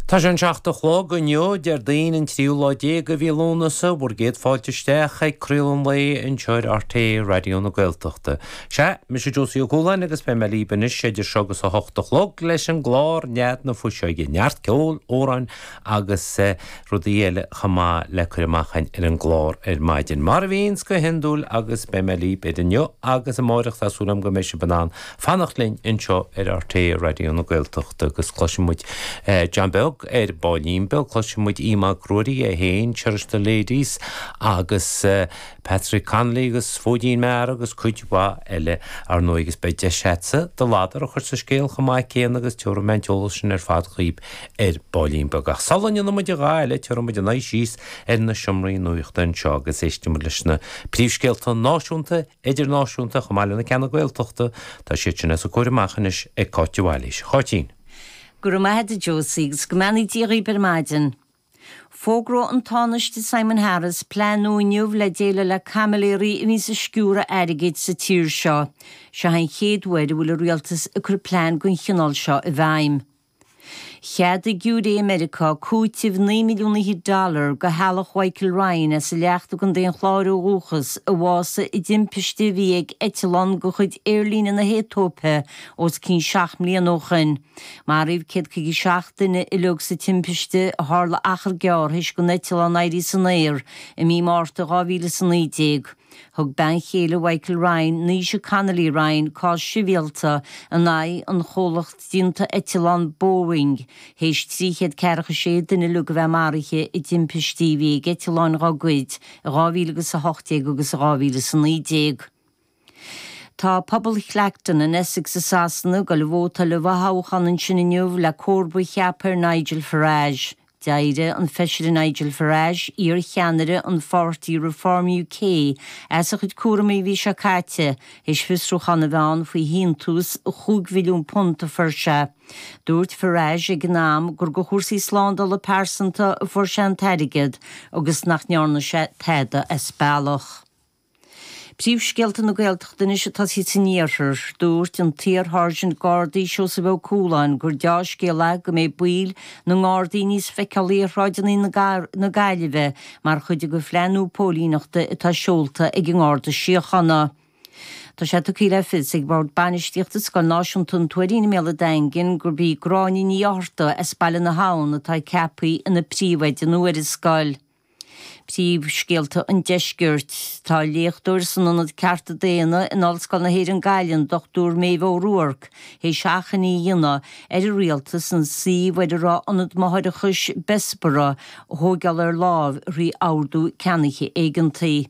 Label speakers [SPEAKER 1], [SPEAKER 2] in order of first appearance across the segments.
[SPEAKER 1] Tá sé an 7 a chlog inniu, Déardaoin an tríú lá déag de mhí Lúnasa, bhur gcéad fáilte isteach ag craoladh an lae anseo ar RTÉ Raidió na Gaeltachta. Sea, mise Josie Ó Cualáin agus beidh mé libh anois idir seo agus a hocht a chlog leis an gclár Nead na Fuiseoige, neart ceoil, amhráin agus rudaí eile chomh maith le cur amach againn ar an gclár ar maidin. Mar a bhíonns go hiondúil agus beidh mé libh idir inniu agus amáireach tá súil agam go mbeidh sibh in ann fanacht linn anseo ar RTÉ Raidió na Gaeltachta agus cloisfidh muid John Beag ar baillín beag, cloisfidh muid Aodh Mac Ruairí é féin, Cherish the Ladies agus Patrick Connolly agus Fóidín Meára agus cuid mhaith eile ar ndóigh agus beidh deis agatsa do ladar a chur sa scéal chomh maith céanna agus tabharfaidh mé an t-eolas sin ar fad dhaoib ar baillín beag. Ach sula ndéanfaidh muid a dhath eile tabharfaidh muid ár n-aghaidh síos ar na seomraí nuachta anseo agus éistfidh muid leis na príomhscéalta náisiúnta, idirnáisiúnta chomh maith le na ceanna Gaeltachta, tá siad sin os a comhair amach anois ag Cáit de Bhailís. A Cháitín.
[SPEAKER 2] Go raibh maith agat a Josie agus go mbeannaí Dia dhaoib ar maidin. Fógróidh an Tánaiste Simon Harris plean nua inniu le déileáil le caimiléirí a bhíonns ag sciúradh airgid sa tír seo. Seo an chéad uair a bhfuil an rialtas ag cur plean den chineál seo i bhfeidhm. Cheadaigh giúiré i Meiriceá cúiteamh 9 milliún fhichead dollar do theaghlach Mhichael Ryan as an Leacht i gContae an Chláir ó dhúchas, a bhásaigh i dtimpiste a bhí ag eitleán de chuid aerlíne na hAetóipe os cionn 7 mbliana ó shoin. Maraíodh 157 duine uileag sa timpiste a tharla achar gearr théis don eitleán éirí san aer i mí Márta 2019. Thug bean chéile Mhichael Ryan, Naoise Connolly Ryan, cás sibhialta in aghaidh an chomhlacht déanta eitleán Boeing théis 346 duine uileag a bheith maraithe i dtimpistí a bhí ag eitleáin dá gcuid i 2018 agus i 2019. Tá pobal Clacton in Essex i Sasana ag dul ag vótáil i bhfothoghchán ansin inniu le comharba a cheapadh ar Nigel Farage. D'éirigh an Feisire Nigel Farage, iar-cheannaire an pháirtí Reform UK, as a chuid cúramaí an mhí seo caite, théis fiosrúchán a bheith ann faoi shíntiús £5 mhilliún a fuair sé. Dúirt Farage ag an am gur do chúrsaí slándála pearsanta a fuair sé an t-airgead agus nach ndearna sé tada as bealach. Príomhscéalta na Gaeltachta anois ag tosaí san iarthar. Dúirt an t-iar-Sháirsint Gardaí Seosamh Ó Cualáin gur deá-scéal é go mbeidh baill na nGardaí níos feiceálaí ar shráideanna na Gaillimhe mar chuid de phlean nua póilíneachta atá seolta ag an nGarda Síochána. Tá sé tugtha le fios ag Bord Bainistíochta Scoil Náisiúnta an Tuairín i mBéal an Daingin gurb í Gráinne Ní Fhátharta as Baile na hAbhann atá ceaptha ina príomhoide nua ar an scoil. Príomhscéalta an Deiscirt. Tá léachtóir san Ionad Cearta Daonna in Ollscoil na hÉireann Gaillimh, an Dr Méabh O'Ruairc, théis achainí a dhéanamh ar an Rialtas an suíomh ar a raibh Ionad Máithreachais Bessborough a thóigeáil ar láimh thrí ordú ceannaithe éigeantaí.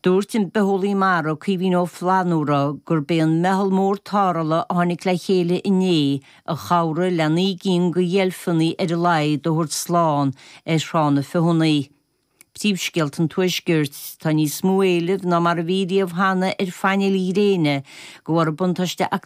[SPEAKER 2] Dúirt an bitheolaí mara Caoimhín Ó Flannúra gurb é an meitheal mór tarrthála a tháinig le chéile inné a chabhraigh le 9 gcinn de dheilfeanna ar a laghad a thabhairt slán ar Thrá na Feothanaí. Príomhscéalta an Tuaiscirt, Tá níos mó éilimh ná mar a bhí riamh cheana ar phainéil ghréine de bharr an buntáiste.